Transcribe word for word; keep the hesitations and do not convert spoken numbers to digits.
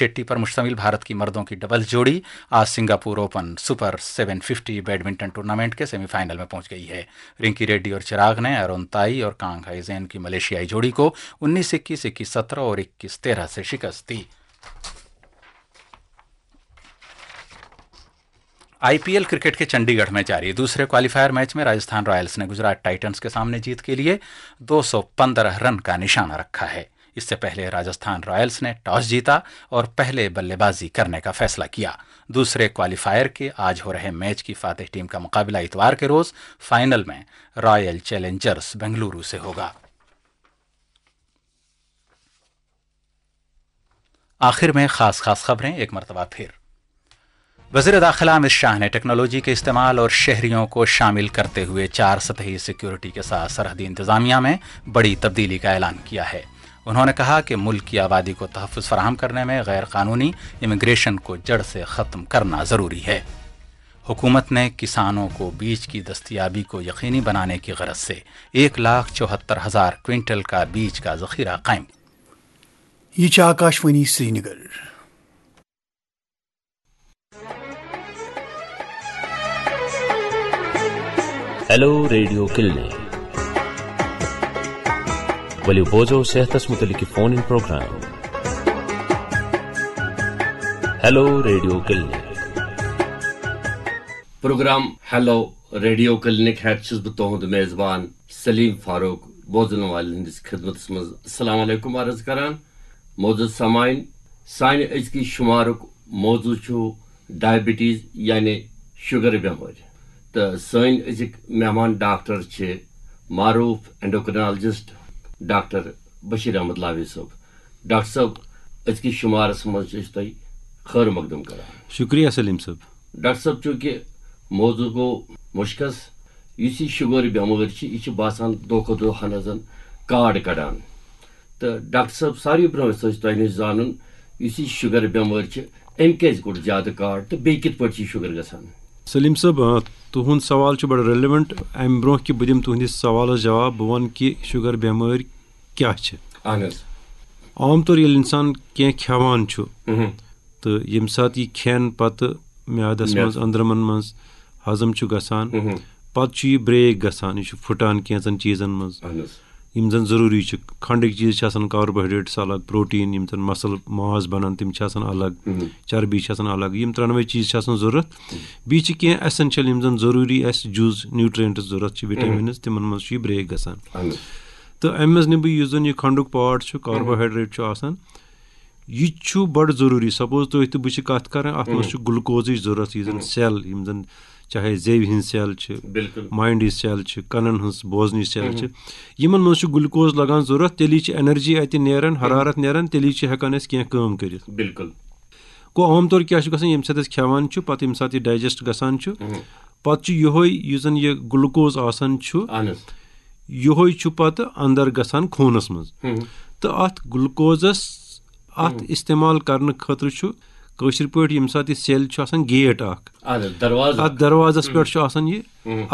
शेट्टी पर मुश्तमिल भारत की मर्दों की डबल्स जोड़ी आज Singapore open super seven fifty badminton tournament के सेमीफाइनल में पहुंच गई है। रिंकी रेड्डी और चिराग ने अरुण ताई और कांग हाई जेन की मलेशियाई जोड़ी को उन्नीस इक्कीस, इक्कीस सत्रह और इक्कीस तेरह से शिकस्त दी। आईपीएल क्रिकेट के चंडीगढ़ में जारी दूसरे क्वालिफायर मैच में राजस्थान रॉयल्स ने गुजरात टाइटंस के सामने जीत के लिए दो सौ पन्द्रह रन का निशाना रखा है। इससे पहले राजस्थान रॉयल्स ने टॉस जीता और पहले बल्लेबाजी करने का फैसला किया। दूसरे क्वालिफायर के आज हो रहे मैच की फातेह टीम का मुकाबला इतवार के रोज फाइनल में रॉयल चैलेंजर्स बेंगलुरु से होगा। आखिर में खास खास खबरें एक मरतबा फिर। वज़ीर दाखिला अमित शाह ने टेक्नोलॉजी के इस्तेमाल और शहरियों को शामिल करते हुए चार सतही सिक्योरिटी के साथ सरहदी इंतज़ामिया में बड़ी तब्दीली का ऐलान किया है। उन्होंने कहा कि मुल्क की आबादी को तहफ़्फ़ुज़ फराहम करने में गैर कानूनी इमिग्रेशन को जड़ से ख़त्म करना ज़रूरी है। हुकूमत ने किसानों को बीज की दस्तयाबी को यकीनी बनाने की गरज से एक लाख चौहत्तर हज़ार क्विंटल का बीज का ज़ख़ीरा कायम। ये आकाशवाणी श्रीनगर। ہیلو ریڈیو کلنک۔ ؤلِو بوزو صحتس متعلق فون ان پروگرام۔ ہیلو ریڈیو کلنک۔ پروگرام ہیلو ریڈیو کلنک ہیتھ چھُس بہٕ تُہُنٛد میزبان سلیم فاروق۔ بوزن والٮ۪ن ہٕنٛدِس خدمتس منٛز السلام علیکم عرض کران۔ معزز سامعین، سانہِ أزکہِ شمارُک موضوع چھُ ڈائبٹیز یعنی شوگر بٮ۪مٲرۍ۔ تہٕ سٲنۍ أزِکۍ مہمان ڈاکٹر چھِ معروف اینڈوکرینالجسٹ ڈاکٹر بشیر احمد لاوی صٲب۔ ڈاکٹر صٲب، أزکِس شمارس منٛز چھِ أسۍ تۄہہِ خٲر مقدم کران۔ شکریہ سلیم صٲب۔ ڈاکٹر صٲب، چونکہ موضوع گوٚو مُشخص، یُس یہِ شُگر بٮ۪مٲرۍ چھِ، یہِ چھِ باسان دۄہ کھۄتہٕ دۄہ ہنا زن کاڈ کڑان۔ تہٕ ڈاکٹر صٲب، ساروی برونٛہہ یژھو أسۍ تۄہہِ نِش زانُن، یُس یہِ شُگر بٮ۪مٲرۍ چھِ، أمۍ کیازِ کوٚڑ زیادٕ کاڈ تہٕ بیٚیہِ کِتھ پٲٹھۍ چھِ یہِ شُگر گژھان؟ سلیم صٲب، آ، تُہُنٛد سوال چھُ بڑٕ ریلیونٹ۔ امہِ برونٛہہ کہِ بہٕ دِمہٕ تُہنٛدِس سوالس جواب، بہٕ ونہٕ کہِ شُگر بٮ۪مٲرۍ کیٛاہ چھِ۔ اہن حظ۔ عام طور ییٚلہِ انسان کینٛہہ کھٮ۪وان چھُ، مہم۔ تہٕ ییٚمہِ ساتہٕ یہِ کھٮ۪ن پتہٕ میادس میادٕ۔ منٛز، أنٛدرمن منٛز ہضم چھُ گژھان، مہم۔ پتہٕ چھُ یہِ بریک گژھان، یہِ چھُ پھُٹان کینٛژن چیٖزن منٛز۔ اہن حظ۔ یِم زن ضروٗری چھِ، کھنڈٕکۍ چیٖز چھِ آسان، کاربوہایڈریٹس الگ، پروٹین، یِم زن مسل ماس بنان، تِم چھِ آسان الگ، مہم۔ چربی چھِ آسان الگ، یِم ترٛٮ۪نوَے چیٖز چھِ آسان ضروٗرت۔ بیٚیہِ چھِ کینٛہہ ایسینشل، یِم زن ضروٗری اَسہِ جُز نیوٹرینٹس ضروٗرت چھِ، وٹامنز، تِمن منٛز چھُ یہِ بریک گژھان۔ اہن حظ۔ تہٕ امہِ منٛز نِمہٕ بہٕ یُس زن یہِ کھنڈُک پارٹ چھُ، کاربوہایڈریٹ چھُ آسان، یہِ تہِ چھُ بڑٕ ضروٗری۔ سپوز تُہۍ تہٕ بہٕ چھِ کتھ کران، اتھ منٛز چھُ گلوکوزٕچ ضروٗرت، یُس زن سیل، یِم زن چاہے زیوِ ہٕنٛز سیل چھِ، بالکل۔ ماینڈٕچ سیل چھِ، کنن ہٕنٛز، بوزنٕچ سیل چھِ، یِمن منٛز چھُ گلوکوز لگان ضروٗرت، تیٚلی چھِ انرجی اتہِ نیران، حرارت نیران، تیٚلی چھِ ہٮ۪کان أسۍ کینٛہہ کٲم کٔرِتھ۔ بالکل۔ گوٚو عام طور کیٛاہ چھُ گژھان، ییٚمہِ ساتہٕ أسۍ کھٮ۪وان چھِ، پتہٕ ییٚمہِ ساتہٕ یہِ ڈایجسٹ گژھان چھُ، پتہٕ چھُ یِہوے یُس زن یہِ گلوکوز آسان چھُ، اہن حظ۔ یِہوے چھُ پتہٕ اندر گژھان خوٗنس منٛز۔ ہم۔ تہٕ اتھ گلوکوزس، اتھ استعمال کرنہٕ خٲطرٕ چھُ کٲشِر پٲٹھۍ ییٚمہِ ساتہٕ یہِ سیل چھُ آسان، گیٹ اکھ، اہن حظ، دروازٕ۔ اتھ دروازس پٮ۪ٹھ چھُ آسان یہِ، ہم۔